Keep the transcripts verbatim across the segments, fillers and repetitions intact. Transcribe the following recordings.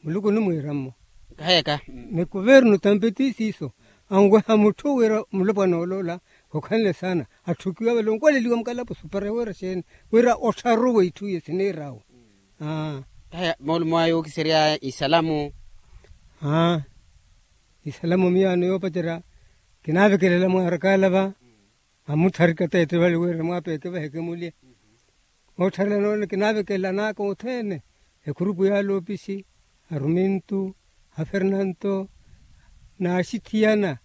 Muluku onimwiira-mmo. Kaheyaka. Ni kuvernu tampeti siiso anweha mutthu wira mulopwana oloola khukhanle saana. Atthukiwa vale onkwaleliwa mukalapo supere wira xeeni wira ottharuwe itthu iye siniirawe. Aa. Kaheya moolumo ayo okiseryaya isalamu. Aa. Isalamu miyaano yoopacerya kinaavekelela mwaarakaala va. Amutharika teete vale wira mwapeeke vaheke mulye. Oottharela noona kinaavekelanaka othene. Ekhurupu yaala opisi arumintu, afernanto, n'axithiyana,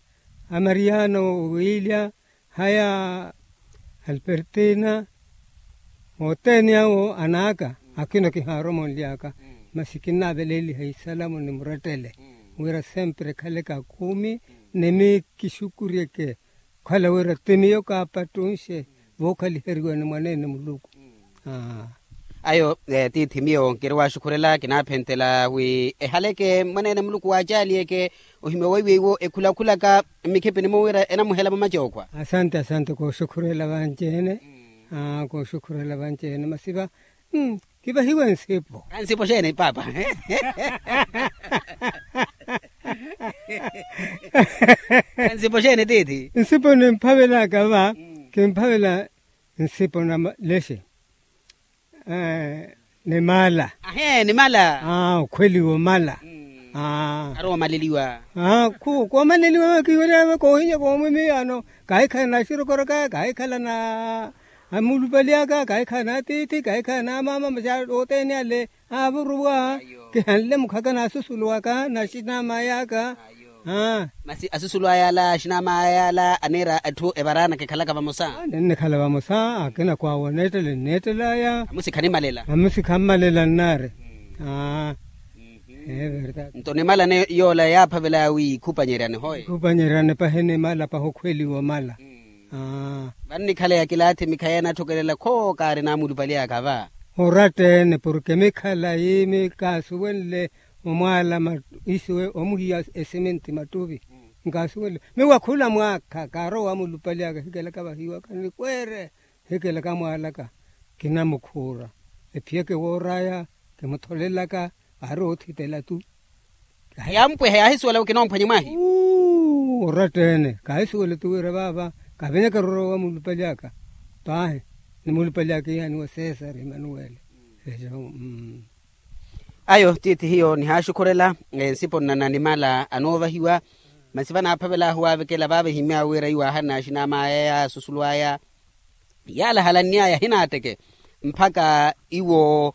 amariano, owiilya, haya, alpertina, othene awo anaaka. Akina kihaarwa monly'aka. Masi kinnaaveleeliha isalamu ni murettele wira sempre ekhale kakumi. Ni mi kixukuryeke okhala wira ti miyo kaapattunxe vookhaliheriwa ni mwaneene muluku. Ayo tiithi miyo nkiri waaxukhurela kinaaphenthela wi ehaleke mwaneene muluku waacaaliyeke. Ohimya weiweiwo ekhulakhulaka mmikhipini-mo wira enamuhela mamacokhwa. Asante asante kooxukhurela vanci-ene. Kooxukhurela vanci-ene masi va kivahiwe nsipo. Nsipo xeeni paapa? Nsipo xeeni tiithi? Nsipo nimphavelaka va kimphavela nsipo na lexe. Ni mala. Ahe ni mala. Okhweliwa omala. Arowa omaleliwa. Koomaleliwa kiwerya koohinya koomwimiyaano. Kaahikhala na axirokoraka kaahikhala na amulupaly'aka kaahikhala na atiithi kaahikhala na amaama masi othene ale. Aavuruwa kihanle mukhaka na asusulu aka na axinamay'aka. Masi asusulu aya ala axinamaya ala aniira etthu evaraana kikhalaka vamosa. Ninnikhala vamosa akina kwaawo aneettele nneettel'aya. Amusi khanimmalela. Amusi khammalela nnaari. Nto nimala yoola yaaphavelaya wi ikhupanyeryani hoye. Ikhupanyeryani pahi nimala pahi okhweliwa omala. Vannikhaleya kilaathi mikhayi anatthokelela khoo kaari naamulupaly'aka va. Oratta-ene porke mikhala yiimi kaasuwenle omwaala isuwe omuhiya esiminti mattuvi. Nkaasuwenle miwakhula mwaakha kaarowa waamulupaly'aka hikelaka vahiwaka nikweere. Hikelaka mwaalaka kinamukhuura ephiyeke woor'aya. Kimutholelaka aari oothitela tu. Yaampweha yaahisuwela wi kinoomphwanya mwaahi. Oratta-ene kaahisuwela tu wira vaava kavenyaka erorowa waamulupaly'aka. Paahi nimulupaly'aka iyaani wa sesar emanuweli. Ayo tiithi hiyo nihaaxukhurela. Nsipo nnana nimala anoovahiwa. Masi vanaaphavel'ahu waavekela vaava ehimy'awe wira iwo aahanna axinam'aya yaasusulu aya. Yaalahalanny'aya ahinaatteke mpakha iwo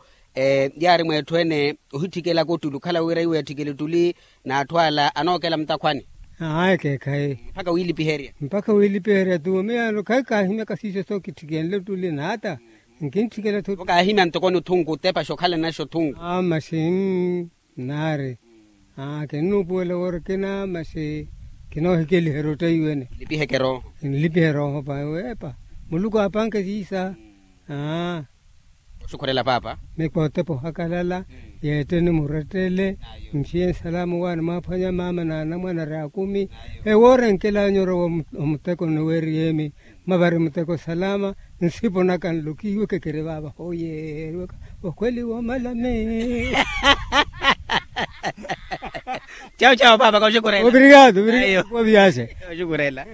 yaari mweetthu ene ohitthikela kottuli okhala wira iwo etthikele ottuli n'atthu ala anookela mutakhwani. Ahayi ekeekhayi. Mpakha wiilipiherya. Mpakha wiilipiherya tu miyaano khayi kaahimyaka siiso sookitthikhenle ottuli n'ata. Nkintthikela thu. Kaahimya ntoko ni othunku otepaxa okhala naxa othunku. Masi nnaari. Kinnuupuwela woora kina masi kinoohikeliherya ottaiwene. Nlipiheke erooho. Nlipihe erooho pawe epa muluku aapanke siisa. Oxukhurela paapa. Mikootepa ohakalala yeetteni murettele. Nxiye nsalamu waani mwaaphwanya maama n'anamwane ari akumi. Ewoora enkel'anyu orowa omuteko niweeriy'emi mwavari muteko salama. Nsipo naka nlokihiwe kekeri vaava hooyeeriwaka okhweli woomalani. Cawu cawu paapa kaxukurela. Obrigado obrigado. Kuwa viaxe. Kaxukurela.